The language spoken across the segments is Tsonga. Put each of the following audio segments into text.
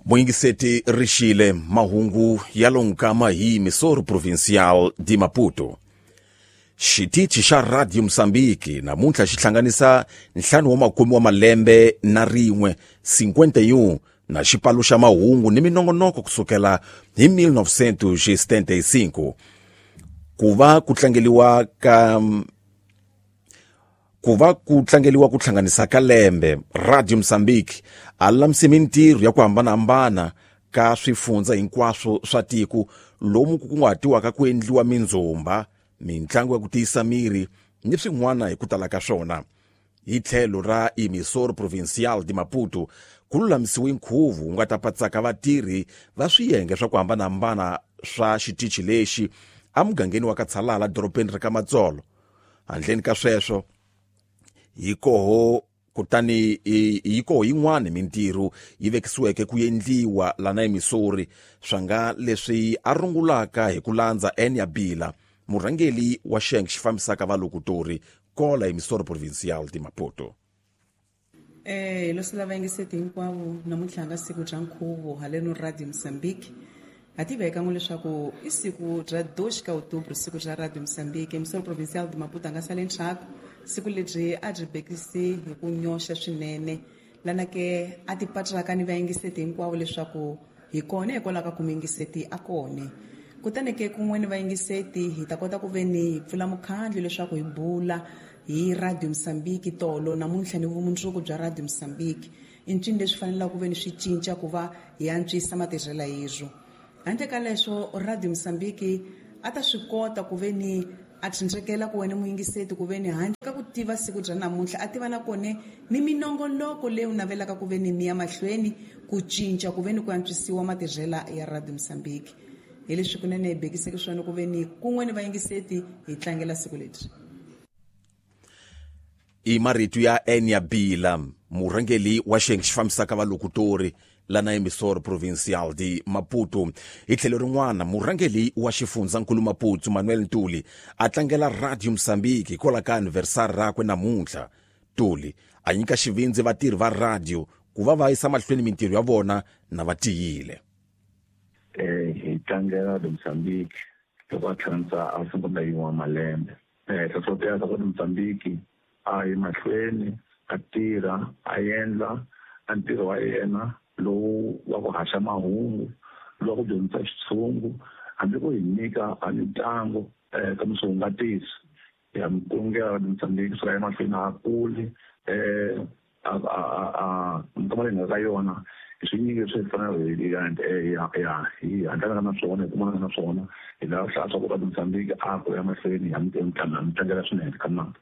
Muyingiseti rixile mahungu ya lonkama hi Missouri Provincial de Maputo. Xitichi xa Radio Mozambique namuntlha xi hlanganisa 50 wa malembe na rin'we 51 na xipano xa mahungu ni minongonoko kusukela hi 1975 ku va ku tlangeliwa ka ku va ku tlangeliwa ku hlanganisa ka lembe. Radio Mozambique a lulamise mintirho ya ku hambanahambana ka swifundza hinkwaswo swa tiko lomu ku kunguhatiwaka ku endliwa mindzumba, mintlangu ya ku tiyisa miri ni swin'wana hi ku tala ka swona. Hi tlhelo ra Emissor Provincial de Maputo ku lulamisiwe nkhuvo wu nga ta patsaka vatirhi va swiyenge swa ku hambanahambana swa xitichi lexi emugangeni wa Katshalala dorobeni ra ka Matsolo. Handleni ka sweswo hi koho kutani hi koho yin'wana mintirho yi vekisiweke ku endliwa lana eMissouri swa nga leswi a rungulaka hi ku landza Enya Bila, murhangeli wa xiyenge xi fambisaka valokutori kola eMissouri Provincial de Maputo. Hi losela vayingiseti hinkwavo namuntlha nga siku bya nkhuvo haleno Radio Mozambique. Ha tiveka n'we leswaku i siku bya 2 ka Outubro, siku bya Radio Mozambique. Missouri Provincial de Maputo a nga sali ndzhaku. Siku lebyi a byi bekisi hi ku nyoxa swinene lana ke a ti patraka ni vayingiseti hinkwavo leswaku hi kona hikwalaho ka ku muyingiseti a kone. Kutani ke kun'we ni vayingiseti hi ta kota ku ve ni hi pfula mukhandlu leswaku hi bula hi Radio Mozambique tolo namuntlha ni vumundzuku bya Radio Mozambique. I ncini leswi fanelaka ku ve ni swi cinca ku va hi antswisa matirhelo yezwo. Handle ka leswo Radio Mozambique a ta swi kota ku ve ni a tshunxekela ku wena muyingiseti ku ve ni handle ka ku tiva siku bya namuntlha a tiva na kone ni minongoloko leyi u navelaka ku ve ni mi ya mahlweni ku cinca ku ve ni ku antswisiwa matirhela ya Radio Mozambique. Hi leswi kunene hi bekiseke swona ku ve ni kun'we ni vayingiseti hi tlangela siku lebyi. I marito ya Enya Bila, murhangeli wa xiyenge xi fambisaka valokutori lana eMissouri Provincial de Maputo. Hi tlhelo rin'wana, murhangeli wa xifundzankulu Maputo Manuel Ntuli a tlangela Radio Mozambique hikwalaho ka anniversary rakwe namuntlha. Ntuli a nyika xivindzi vatirhi va radio ku va va yisa mahlweni mintirho ya vona na va tiyile. Hi tlangela Radio Mozambique loko a hlanganisa a 51 wa malembe. Hlohlotela swa ku Mozambique a yi mahlweni a tirha a endla a ntirho wa yena lowu wa ku haxa mahungu, lowu wa ku dyondzisa xitshungu, hambi ku hi nyika a mitlangu ka miswihungatisi ya mikulungela Mozambique swi ya emahlweni a kuli a minkama leyi nga ka yona hi swinyingi leswi hi fanele hi handlana na swona hi kumana na swona hi lava hlaya swa ku ka Mozambique a ku ya mahlweni ya mitlangela swinene ka mali.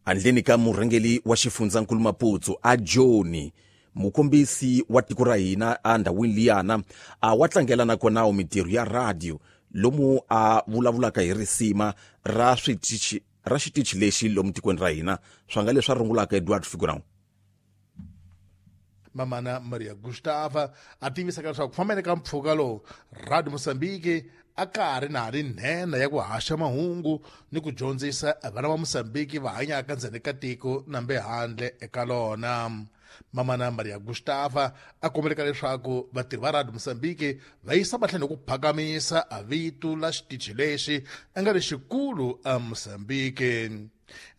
Handleni ka murhangeli wa xifundzankulu Maputo a Joni, mukombisi wa tiko ra hina a ndhawini liyana a wa tlangela nakona mintirho ya radio lomu a vulavulaka hi risima ra switichi ra xitichi lexi lomu tikweni ra hina swa nga leswi a rungulaka Edward Figurão. Mamana Maria Gustava a tivisaka leswaku ku fambeni ka mpfhuka lowu Radio Mozambique a ka ha ri na ri nhenha ya ku haxa mahungu ni ku dyondzisa vana va Mozambique va hanyaka ndzeni ka tiko nambe handle eka lona. Mamana Maria Gustava a kombeleka leswaku vatirhi va Radio Mozambique va yisa mahlweni ku phakamisa vito la xitichi lexi a nga ri xikulu a Mozambique.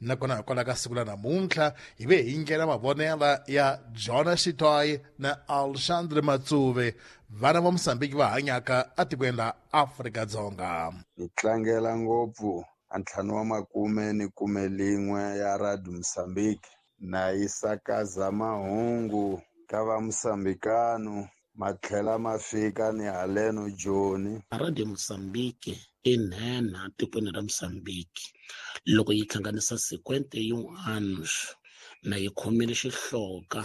Nakona hikwalaho ka siku la namuntlha hi ve hi nghena mavonela ya Jonas Xitoyi na Alexandre Matsuve, vana va Mozambique va hanyaka etikweni la Afrika-Dzonga. Hi tlangela ngopfu a 51 ya Radio Mozambique na yi sakaza mahungu ka va Mozambikano matlhela ma fika ni haleno Joni. Radio Mozambique i nhenha tikweni ra Mozambique loko yi hlanganisa 51 anos na yi khomile xihloka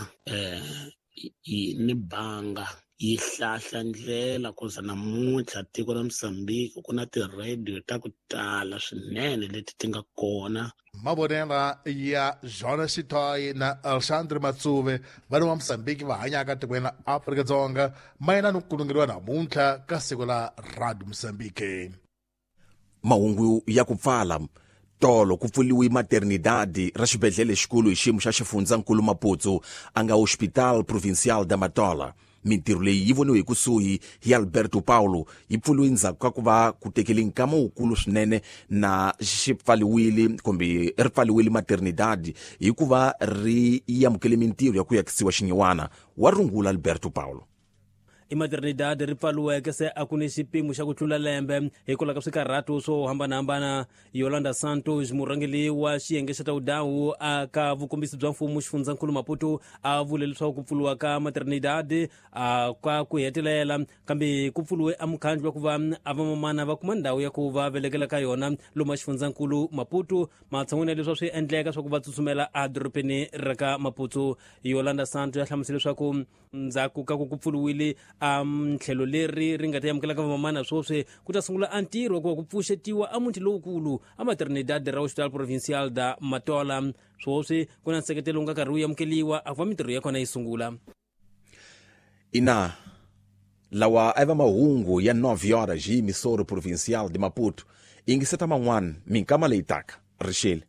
ni banga yi hlahla ndlela ku za namuntlha tiko ra Mozambique ku na ti-radio ta ku tala swinene leti ti nga kona. Mavonela ya Jonas Xitoyi na Alexandre Matsuve vana va Mozambique va hanyaka tikweni la Afrika-Dzonga mayelana ni ku kulungeriwa namuntlha ka siku la Radio Mozambique. Mahungu ya ku pfala tolo ku pfuriwe maternidade ra xibedhlele xikulu hi xiyimo xa xifundzankulu Maputo a nga Hospital Provincial da Matola. Mintirho leyi yi voniwe hi kusuhi hi Alberto Paulo, yi pfuriwe ndzhaku ka ku va ku tekele nkama wukulu swinene na xi pfaliwile kumbe ri pfaliwile Maternidade hikuva ri amukele mintirho ya ku yakisiwa xinyiwana, wa rungula Alberto Paulo. I Maternidade ri pfaliweke se a ku ni xipimo xa ku tlula lembe hikwalaho ka swikarhato swo hambanahambana. Yolanda Santos, murhangeri wa xiyenge xa tawudawu aka vukombisi bya mfumo xifundzankulu Maputo, a vule leswaku ku pfuriwa ka Maternidade a ka ku hetelela, kambe ku pfuriwe a mukhandlu wa ku va a vamamana va kuma ndhawu ya ku va velekela ka yona lomu xifundzankulu Maputo, matshan'wini ya leswi swi endleka swa ku va tsutsumela edorobeni ra ka Maputo. Yolanda Santos ya hlamusela leswaku ndzhaku ka ku ku pfuriwile a tlhelo leri ri nga ta amukelaka vamamana, sweswi ku ta sungula a ntirho wa ku va ku pfuxetiwa a muti lowukulu a Maternidade ra Hospital Provincial da Matola. Sweswi ku na nseketelo wu nga karhi wu amukeliwa a ku va mintirho ya kona yi sungula. Ina, lawa a va mahungu ya 9 horas hi emissora provincial de Maputo. Ingiseta man'wana minkama leyi taka. Rixile.